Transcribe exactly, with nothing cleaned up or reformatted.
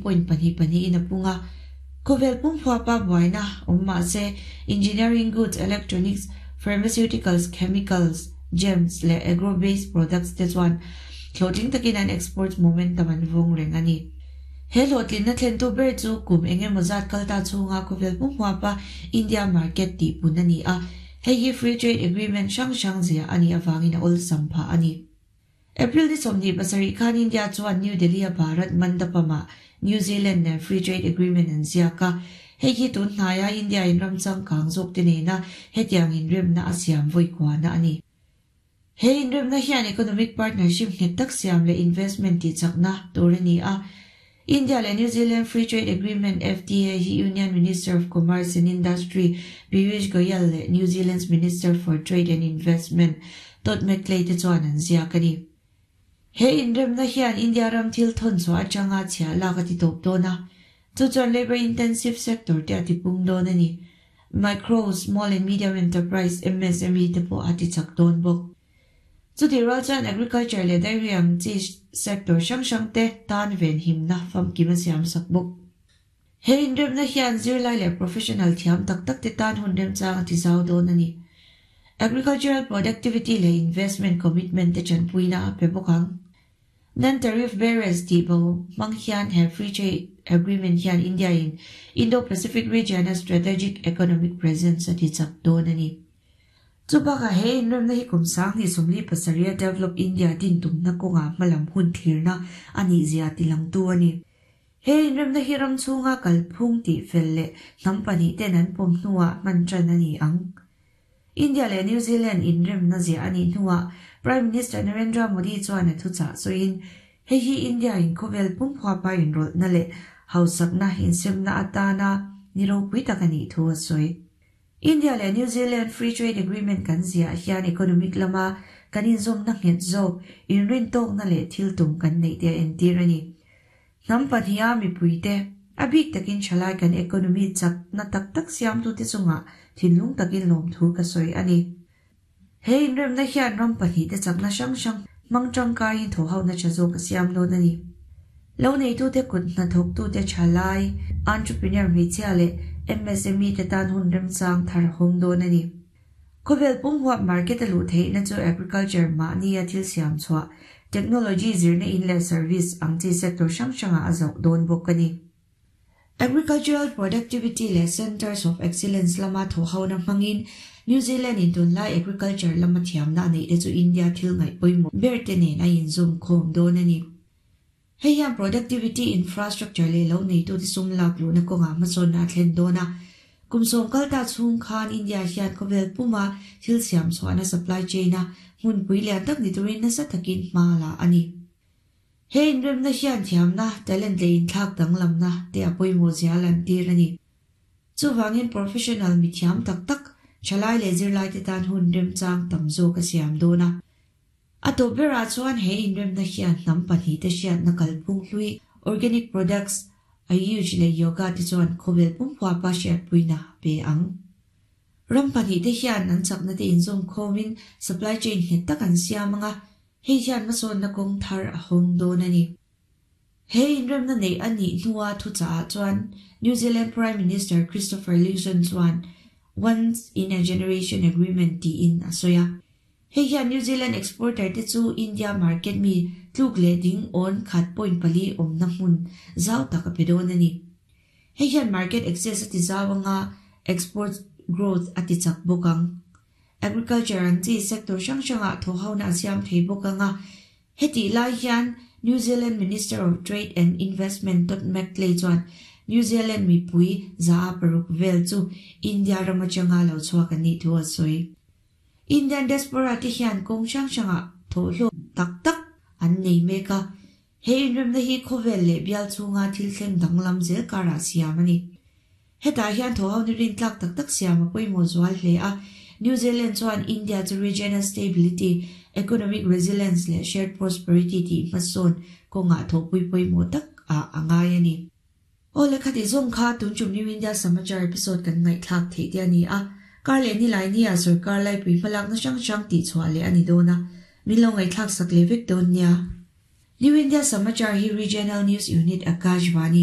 point pahnih pahnih in a pung a. Khawvel pum huapa buaina awm mahse engineering goods, electronics, pharmaceuticals, chemicals, gems leh agro-based products te chuan hlawhtling takin an export momentum an vawng reng a ni. He hlawhtlinna thlentu ber chu kum engemaw zat kalta chhunga khawvel pum huapa India market tih pun a ni a. Hei hi free trade agreement hrang hrang zia a nih avangin a awlsam phah a ni. April ni sawmhnih pasarih khan India chuan New Delhi a Bharat Mandapam-ah New Zealand nen free trade agreement an ziak a. Hei hi tun hnaia India in ram changkang zawk te nena hetiang inremna a siam vawi kuana a ni. He inremna hian economic partnership nghet tak siam leh investment tih chakna tur a ni a. India leh New Zealand Free Trade Agreement F T A hi Union Minister of Commerce and Industry Piyush Goyal leh New Zealand's Minister for Trade and Investment Todd McClay te chuan an ziak a ni. He inremna hian India ram thil thawn chhuah atanga chhiah lak a ti tawp dawn a. Chu chuan labor intensive sector te a ti pung dawn a ni. Micro, small and medium enterprise M S M E te pawh a ti chak dawn bawk. Chuti rual chuan agriculture leh dairy ang chi sector hrang hrang te tan ven himna famkim a siam sak bawk. He inremna hian zirlai leh professional thiam tak tak te tan hun remchang a ti zau dawn a ni. Agricultural productivity leh investment commitment te chanpuina a pe bawk ang. Non-tariff barriers tih bo hmang hian he free trade agreement hian India in Indo-Pacific region a strategic economic presence a ti chak dawn a ni. Chu bakah he inremna hi kum sanghnih sawmli pasarih a Develop India din tumna kawnga hmalam hun thlirna a nih zia ti langtu a ni. He inremna hi ram chhunga kalphung tih fel leh hnam pahnih ten an pawm hnuah hman tan a ni ang. India leh New Zealand inremna zia a nih hnuah Prime Minister Narendra Modi chuan a thuchah sawiin hei hi India in khawvel pum huapa inrawlhna leh hausakna insemna atana ni ropui tak a nih thu a sawi. India leh New Zealand Free Trade Agreement kan ziah hian economic lama kan inzawmna nghet zawk inrin tawkna leh thil tum kan neih te a entir a ni. Hnam pahniha mipui te a bik takin thalai kan economy chakna tak tak siamtu te chungah thinlung takin lawm thu ka sawi a ni. He inremna hian ram pahnih te chakna hrang hrang hmang tangkaiin thaw hona tha zawk a siam dawn a ni. Lo neitu te kut hnathawktu te thalai entrepreneur hmeichhia leh M S M E te tan hun remchang thar hawng dawn a ni. Khawvel pum huap market a luh theihna chu agriculture mahni a thil siam chhuah technology zirna in leh service ang chi sector hrang hrangah a zauh dawn bawk a ni. Agricultural productivity leh centers of excellence lama thaw hona hmangin New Zealand in tunlai agriculture lama thiamna a neih te chu India thil ngaih pawimawh ber te nen a inzawm khawm dawn a ni. Hei hian productivity infrastructure leh lo neitu te sum lak luhna kawnga hmasawnna a thlen dawn a. Kum sawm kalta chhung khan India hian khawvel puma thil siam chhuahna supply chain a hmunpui lian tak ni turin nasa takin hma la a ni. He inremna hian thiamna talent leh inthlak danglamna te a pawimawh zia lan tir a ni. Chuwangin professional mi thiam tak tak thalai leh zirlai te tan hun remchang tam zawk a siam dawn a. A tawp berah chuan he inremna hian hnam pahnih te hriatna kalphung hlui organic products ayush leh yoga te chuan khawvel pum huapa hriatpuina pe ang. Ram pahnih te hian an chakna te inzawm khawmin supply chain nghet tak an siam anga hei hian hmasawnna kawng thar a hawng dawn a ni. He inremna nei a nih hnuah thuchah chuan New Zealand Prime Minister Christopher Luxon chuan once in a generation agreement tiin a sawi a. Hei hian New Zealand exporter te chu India market mi tluk leh ding awn khat point pali awmna hmun zau tak a pe dawn a ni. Hei hian market access a ti zau anga export growth a ti chak bawk ang. Agriculture ang chi sector hrang hrangah thaw hona a siam thei bawk anga heti lai hian New Zealand Minister of Trade and Investment Todd McClay chuan New Zealand mipui za a paruk vel chu India ram atanga lo chhuak an nih thu a sawi. Indian diaspora te hian kawng hrang hrangah thaw hlawk tak tak an nei mek a. He inremna hi khawvel leh bial chhunga thil thleng danglam zel karah siam a ni. Hetah hian thaw ho ni rin tlak tak tak siam a pawimawh zual hle a. New Zealand chuan India chu regional stability, economic resilience leh shared prosperity tih hmasawn kawngah thawhpui pawimawh tak a angai a ni. Aw le khati zawng kha tun tum New India Samachar episode kan ngaihthlak theih te a ni a. Kar leh ni lai ni a sarkar lai pui hmalakna hrang hrang tih chhuah leh a ni dawn a. Min lo ngaihthlak sak leh vek dawn nia. New India Samachar hi Regional News Unit Akashvani.